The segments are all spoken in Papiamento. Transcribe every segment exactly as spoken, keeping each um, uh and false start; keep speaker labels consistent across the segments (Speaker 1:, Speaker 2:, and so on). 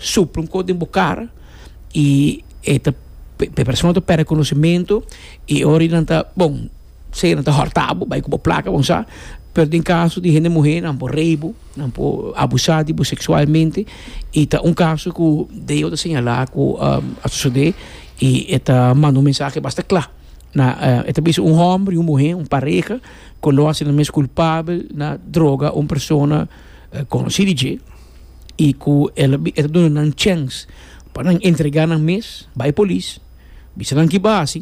Speaker 1: Supla un kos den bo kara i e ta e persona ta pèrdè konosementu i ora nan ta, bon, sea nan ta hòrta bo, bai ku bo plaka, bon sa, pero den kaso di hende muhé nan por rape bo, nan por abusá di bo seksualmente i ta un kaso ku D O ta señalá ku um, a sosodé i e ta manda un mensahe basta kla. Na, uh, e ta bisa un hòmber i un muhé, un pareha, ku lo hasi nan mes kulpabel na droga un persona uh, konosí di dje i ku el a duna nan chèns pa nan entregá nan mes, bai polis, bisa nan ki b'a hasi,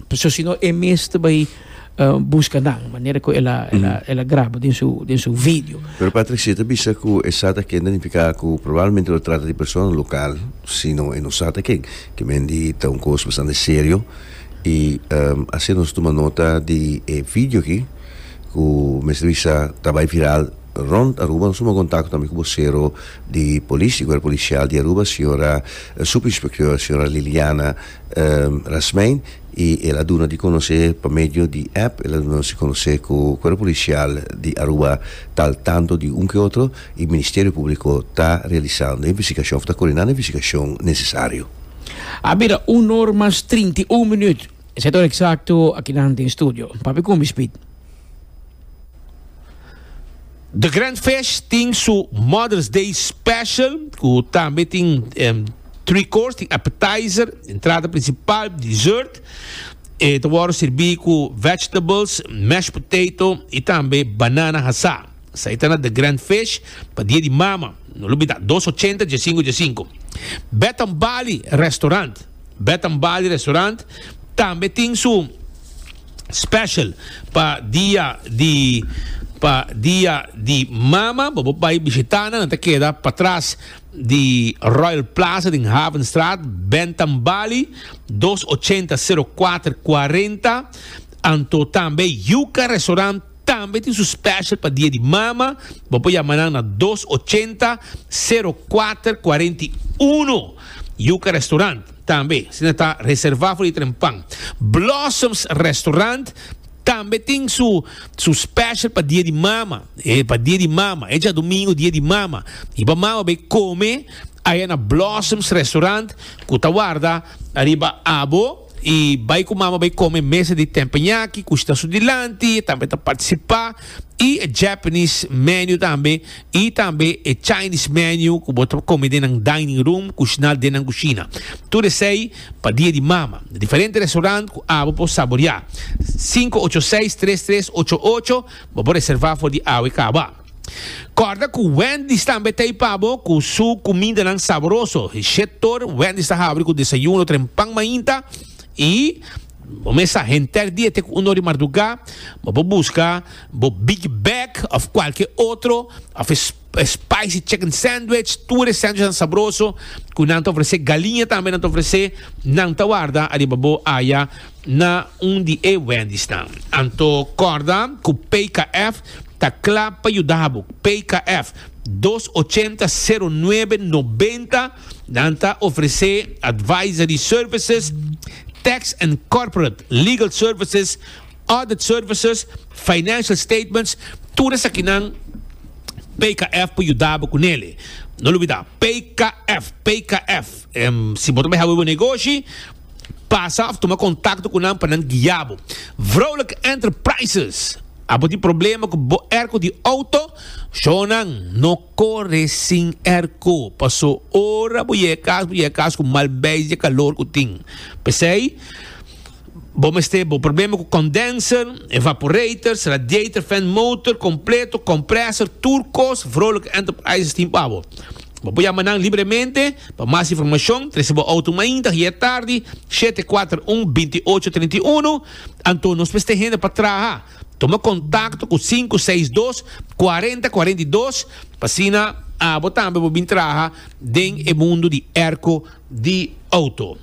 Speaker 1: pasobra si no e mes ta bai uh, buska nan, manera ku el a, el a, el a graba den su, den su video.
Speaker 2: Pero Patrick, si ta bisa ku e sa ta ken, ta nifiká ku probablemente lo trata di persona lokal, sino e no sa ta ken, ke men di ta un kos bastante serio i um, asina nos tuma nota di e video aki ku mester bisa ta bai viral rond Aruba. Nos tuma kontakto tambe ku bosero di polis, di Kuerpo Polisial di Aruba, señora subinspektor, señora Liliana um, Rasmijn, i el a duna di konosé pa medio di app, el a duna di konosé ku Kuerpo Polisial di Aruba ta al tanto di un ke otro i Ministerio Públiko ta realisando investigashon, ta koordinando investigashon nesesario.
Speaker 1: A bira un or mas trinta i un minüt. E ta eksakto aki na studio. Papi ku mi, Speed.
Speaker 3: The Grand Fish tin su Mother's Day Special, ku tambe tin um, three course, tin appetizer, entrada prinsipal, dessert. E ta wòrdu sirbí ku vegetables, mashed potato i tambe banana hasá. Esei ta na The Grand Fish pa Dia di Mama. No lubidá, dos ochenta diesinku diesinku. Betam Bali Restaurant. Betam Bali Restaurant tambe tin su special pa dia di pa Dia di Mama. Bo bai bishitá nan, ta keda patras di Royal Plaza den Havenstraat. Bentam Bali, dos ochenta zero kuater kuarenta. Anto tambe Yuca Restaurant tambe tin su special pa Dia di Mama. Bo por yama na dos ochenta zero kuater kuarenta i un. Yuca Restaurant tambe, si ta reservá pa trempan. Blossoms Restaurant tambe tin su su special pa Dia di Mama. E pa Dia di Mama, e djadumingu, Dia di Mama. I pa mama bai kome aya na Blossoms Restaurant, ku ta warda ariba abo i bai ku mama bai kome mesa di teppanyaki, ku ta su dilanti, tambe ta partisipá i e Japanese menu tambe i tambe e Chinese menu ku bo ta kome den dining room, kushiná den kushina. Tur esei pa Dia di Mama. Diferente restaurant ku abo por saboriá. sinku ocho seis tres tres ocho ocho, bo por reservá for di awe kaba. Kòrda ku Wendy's tambe tin pa bo ku su kumindanan saboroso. Shetor Wendy's ta habri ku desayuno trempan mainta i bo mesa henter dia te ku un or di mardugá. Bo por buska bo Big Bag òf kualke otro òf spicy chicken sandwich, tur sandwich saboroso ku nan ta ofresé. Galiña tambe nan ta ofresé. Nan ta warda ariba bo aya na un di e Wendy's nan. Anto kòrda ku P K F ta kla pa yuda. P K F, dos ochenta zero nuebe nobenta. Nan ta ofresé advisory services, tax and corporate legal services, audit services, financial statements, tur esakinan P K F por yuda kuné. No lubidá, P K F, P K F. Um, si bo tambe tin un negoshi, pasa òf tuma kontakto ku nan pa nan guia bo. Vrolijk Enterprises. Abo tin problema ku bo airco di outo? Shonan, no kore sin airco. Paso ora bo yega kas, bo yega kas ku mal beis di kalor ku tin. P'esei, bo mester bo problema ku condenser, evaporators, radiator, fan motor, kompleto, compressor, tur kos, Vrolijk Enterprises tin pa bo. Bo por yama nan libremente pa mas informashon, trese bo outo mainta, i tardi, shete kuater un binti ocho trinta i un. Anto nos mester hende pa traha. Tuma kontakto ku sinku seis dos kuarenta kuarenta i dos, pa asina abo tambe bo bin traha den e mundu di airco di outo.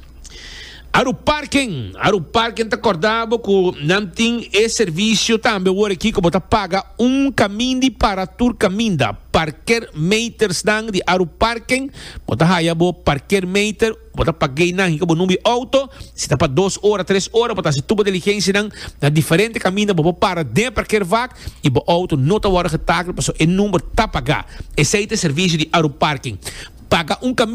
Speaker 3: Aru Parking, Aru Parking ta kòrda bo ku nan tin e servisio tambe awor aki ku bo ta paga un kaminda pa tur kaminda. Parkeermeters nan di Aru Parking, bo ta haya bo parkeermeter, bo ta paga nan ku bo number outo, si ta pa dos ora, tres ora, bo ta hasi tur diligensia nan na diferente kaminda, bo para den parkeervak i bo outo no ta wòrdu getakel, paso e number ta pagá. Esei ta e servisio di Aru Parking. Paga un kaminda